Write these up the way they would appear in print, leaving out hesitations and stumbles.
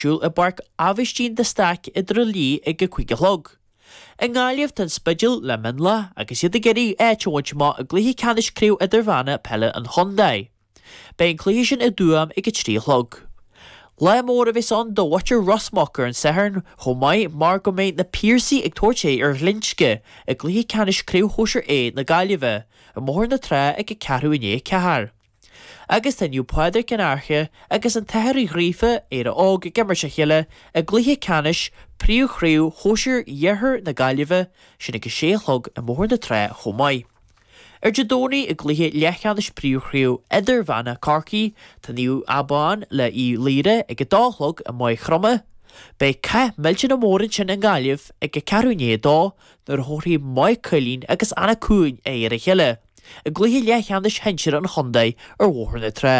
Siúl i bPáirc Aibhistín de Staic i dTrá Lí ag a 5 a chlog. I nGaillimh tá an Spidéal le Mionlach agus iad ag iarraidh áit a bhaint amach i gcluiche ceannais Craobh Idirmheánach Peile an Chontae. Beidh an cluiche sin i dTuaim ag a 3 a chlog. Lá mór a bheas ann do mhuintir Ros Muc ar an Satharn chomh maith mar go mbeidh na Piarsaigh ag tabhairt aghaidh ar Ghlinsce i gcluiche ceannais Craobh Shóisir A na Gaillimhe i mBóthar na Trá ag a ceathrú i ndiaidh a 4. Agus tá Naomh Pádraig an Fhairche agus an tAthair Uí Ghríofa, Éire Óg ag imirt a chéile i gcluiche ceannais Príomh-Chraobh Shóisir Iarthar na Gaillimhe, sin ag a sé a chlog i mBóthar na Trá chomh maith. Ar Dé Domhnaigh i gcluiche leathcheannais Príomh-Chraobh Idirmheánach Chorcaí, tá Naomh Abán le Uíbh Laoire ag a dó a chlog i Maigh Chromtha. Beidh cath millteanach mór ansin i nGaillimh ag a ceathrú i ndiaidh a dó nuair a thabharfaidh Maigh Cuilinn agus Anach Cuain aghaidh ar a chéile. i gcluiche leathcheannais shinsir an chontae ar Bhóthar na Trá.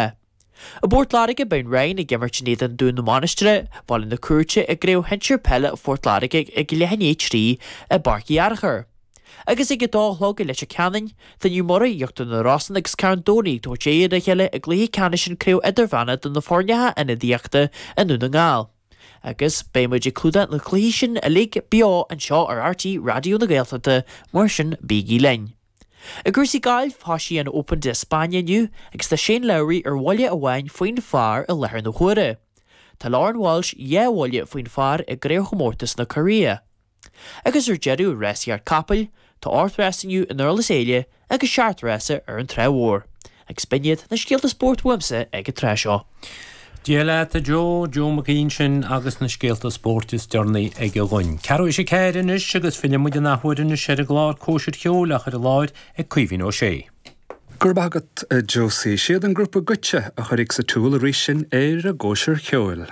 I bPort Láirge beidh an Rinn ag imirt in éadan Dún na Mainistreach, Baile na Cúirte i gCraobh Shinsir Peile Phort Láirge ag leath i ndiaidh 3 i bPáirc Uí Fhearchair. Agus ag a dó a chlog i Leitir Ceanainn, tá Naomh Muire, Íochtar na Rosann agus Carn Domhnaigh ag tabhairt aghaidh ar a chéile i gcluiche ceannais an Craobh Idirmheánach do na foirneacha ionadaíochta i nDún na nGall. Agus beidh muid ag clúdach na cluichí sin uilig beo anseo ar RTÉ Raidió na Gaeltachta, mar sin bígí linn. I gcúrsaí gailf, thosaigh an Open de España inniu agus tá Shane Lowry ar bhuille amháin faoin phar i láthair na huaire. Tá Lauren Walsh 2 bhuille faoin phar i gCraobhchomórtas na Cóiréa. Agus ar deireadh, rásaíocht capaill, tá 8 rás inniu i nDurlas Éile agus 7 rása ar an Trá Mhór. Agus b'in iad na scéalta spóirt uaimse ag an tráth seo. Dia leat a Joe, Joe Mac Aoidh ansin agus na scéalta spóirt is deireanaí aige dhúinn. Ceathrú théis a ceathair anois agus filleann muid an athuair anois ar an gclár Cóisir Cheoil á chur i láthair ag Caoimhín Ó Sé. Go raibh maith agat a Josie. Siad an grúpa Goitse a chuirfidh sa tsiúl arís sinn ar an gcóisir cheoil.